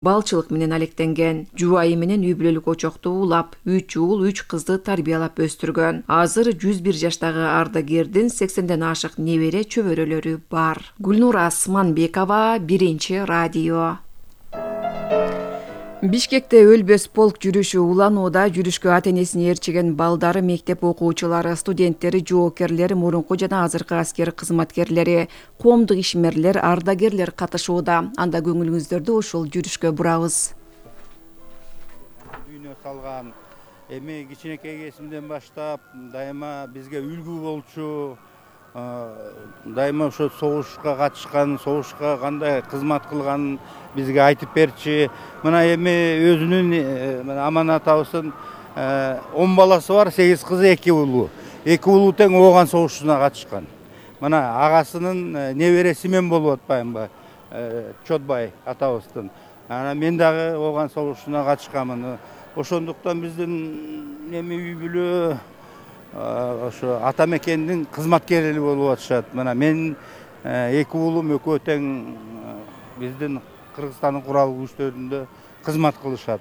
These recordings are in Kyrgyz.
балчылык менен алектенген. Жубайы менен үй бүлөлүк очокту улап, 3 уул 3 кызды тарбиялап өстүргөн. Азыр 101 жаштагы ардагердин 80ден ашык небере чөбөрөлөрү бар. Гүлнура Асманбекова, Биринчи радио. Бишкекте өлбөс полк жүрүшү уланууда. Жүрүшкө ата-энесин ээрчиген балдары, мектеп окуучулары, студенттери, жоокерлери, мурунку жана азыркы аскер кызматкерлери, коомдук ишмерлер, ардагерлер катышууда. Анда көңүлүңүздөрдү ушул жүрүшкө бурабыз. Дүйнө салган эми кичинекей кезимден баштап дайыма бизге үлгү болчу, дайыма ошо согушка катышкан, согушка кандай кызмат кылганын бизге айтып берчи. Мына эми өзүнүн Аман атабыздын 10 баласы бар, 8 кызы, 2 уулу. 2 уулу тең ооган согушуна катышкан. Мына агасынын небереси мен болуп атпаймынбы, Чотбай атабыздын. Анан мен дагы ооган согушуна катышканмын. Ошондуктан биздин эми үй бүлө ошо ата мекендин кызматкерлери болуп атышат. Мына мен 2 уулум экөө тең биздин Кыргызстандын куралдуу күчтөрүндө кызмат кылышат.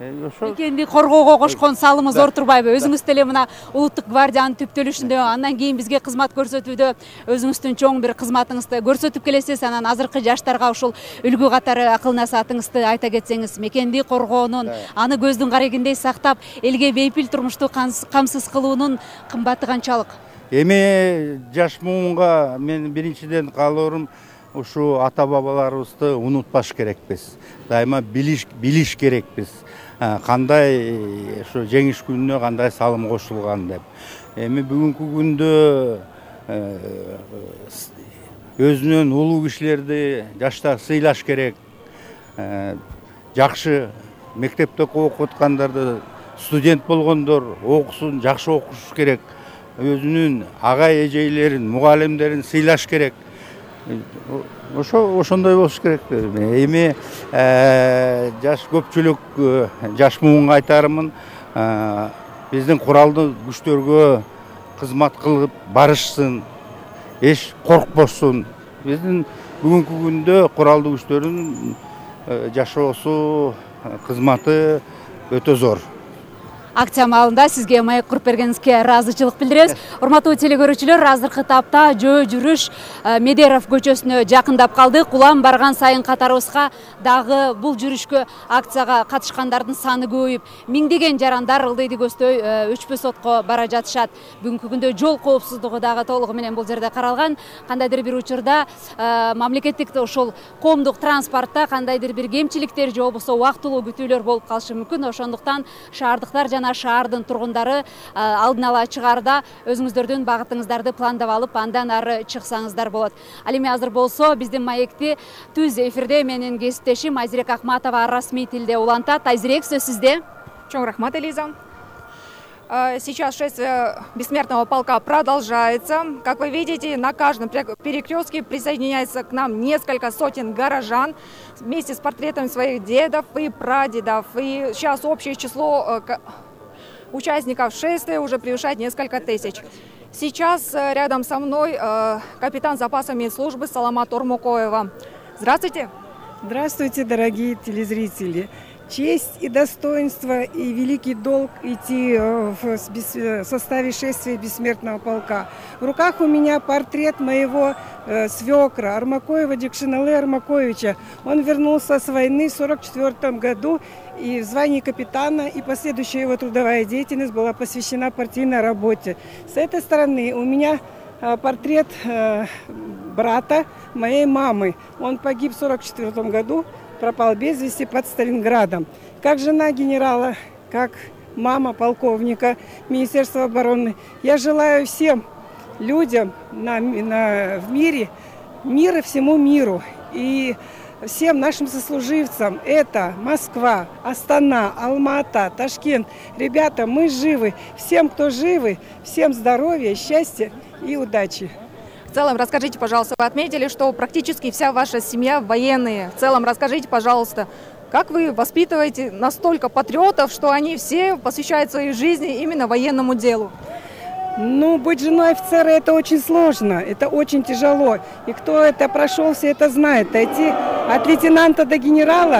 Мекенди коргоого кошкон салымы зор турбайбы? Өзүңүз деле мына улуттук гвардиянын түптөлүшүндө, андан кийин бизге кызмат көрсөтүүдө өзүңүздүн чоң бир кызматыңызды көрсөтүп келесиз. Анан азыркы жаштарга ушул үлгү катары акыл насаатыңызды айта кетсеңиз, мекенди коргоонун, аны көздүн карегиндей сактап, элге бейпил турмушту камсыз кылуунун кымбаты канчалык? Эми жаш муунга мен биринчиден каалоорум ушу ата бабаларыбызды унутпаш керекпиз. Дайыма билиш керекпиз. Кандай ошо жеңиш күнүнө кандай салым кошулган деп. Эми бүгүнкү күндө өзүнөн улуу кишилерди жаштар сыйлаш керек. Жакшы мектепте окуп аткандарды, студент болгондор окусун, жакшы окуш керек. Өзүнүн агай эжейлерин, мугалимдерин сыйлаш керек. Ошондой болуш керек. Эми жаш көпчүлүк жаш муунга айтарымын, биздин куралдуу күчтөргө кызмат кылып барышсын, эч коркпосун. Биздин бүгүнкү күндө куралдуу күчтөрдүн жашоосу, кызматы өтө зор. Акция маалында сизге маек куруп бергениңизге ыраазычылык билдиребиз. Урматтуу телекөрүүчүлөр, азыркы тапта жөө жүрүш Медеров көчөсүнө жакындап калдык. Улам барган сайын катарыбызга дагы бул жүрүшкө акцияга катышкандардын саны көбөйүп, миңдеген жарандар ылдыйды көздөй өчпөс отко бара жатышат. Бүгүнкү күндө жол коопсуздугу дагы толугу менен бул жерде каралган. Кандайдыр бир учурда мамлекеттик ошол коомдук транспортто кандайдыр бир кемчиликтер же болбосо убактылуу күтүүлөр болуп калышы мүмкүн. Ошондуктан шаардыктар жана шаардын тургундары алдын ала чыгаарда өзүңүздөрдүн багытыңыздарды пландап алып, андан ары чыксаңыздар болот. Ал эми азыр болсо биздин маекти түз эфирде менин кесиптешим Айзирек Акматова расмий тилде улантат. Айзирек, сөз сизде. Чоң рахмат, Элиза. Сейчас шествие бессмертного полка продолжается. Как вы видите, на каждом перекрестке присоединяется к нам несколько сотен горожан вместе с портретами своих дедов и прадедов. И сейчас общее число участников шествия уже превышает несколько тысяч. Сейчас рядом со мной капитан запаса медслужбы Саламат Ормукоева. Здравствуйте. Здравствуйте, дорогие телезрители. Честь и достоинство и великий долг идти в составе шествия бессмертного полка. В руках у меня портрет моего свекра Армакоева Дикшинале Армакоевича. Он вернулся с войны в 1944 году и в звании капитана, и последующая его трудовая деятельность была посвящена партийной работе. С этой стороны у меня портрет брата моей мамы. Он погиб в 1944 году. Пропал без вести под Сталинградом. Как жена генерала, как мама полковника Министерства обороны, я желаю всем людям в мире, мира всему миру и всем нашим сослуживцам. Это Москва, Астана, Алма-Ата, Ташкент. Ребята, мы живы. Всем, кто живы, всем здоровья, счастья и удачи. В целом, расскажите, пожалуйста, вы отметили, что практически вся ваша семья военные. В целом, расскажите, пожалуйста, как вы воспитываете настолько патриотов, что они все посвящают своей жизни именно военному делу? Ну, быть женой офицера это очень сложно, это очень тяжело. И кто это прошел, все это знает. Дойти от лейтенанта до генерала